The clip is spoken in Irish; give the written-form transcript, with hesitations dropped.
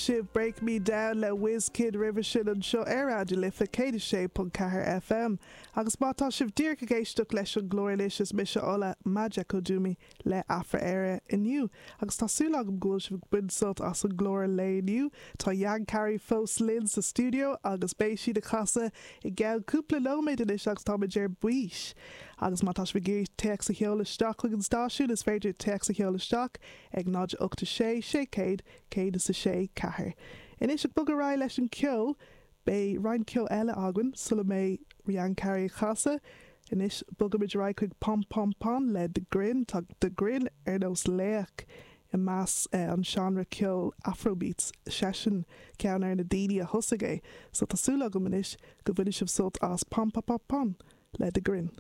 Sibh Break Me Down le Wizkid roimhe sin anseo ar Raidió na Life 106.4 FM. Agus má tá sibh díreach ag éisteacht leis an gclár anois is mise Ola Majekodunmi le Afra Éire inniu agus tá súil agam go bhfuil sibh ag baint sult as an gclár lae inniu. Tá Yankari fós linn sa stiúideo agus beidh siad ag casadh i gceann cúpla nóiméad anois agus táimid ar bís. Agus má tá sibh ag iarraidh téacs a sheoladh isteach chuig an stáisiún is féidir téacs a sheoladh isteach ag 0 8 6 600 106 4. Anois ag bogadh ar aghaidh leis an ceol, beidh roinnt ceoil eile againn sula mbeidh Yankari ag casadh. Anois bogaimid ar aghaidh chuig Pom Pom Pon le The Grin. Tá The Grin ar nós laoch i measc an seánra ceoil Afrobeats, seisean ceann ar na daoine a thosaigh é. So tá súil agam anois go bhainfidh sibh sult as Pom Pom Pom Pon le The Grin.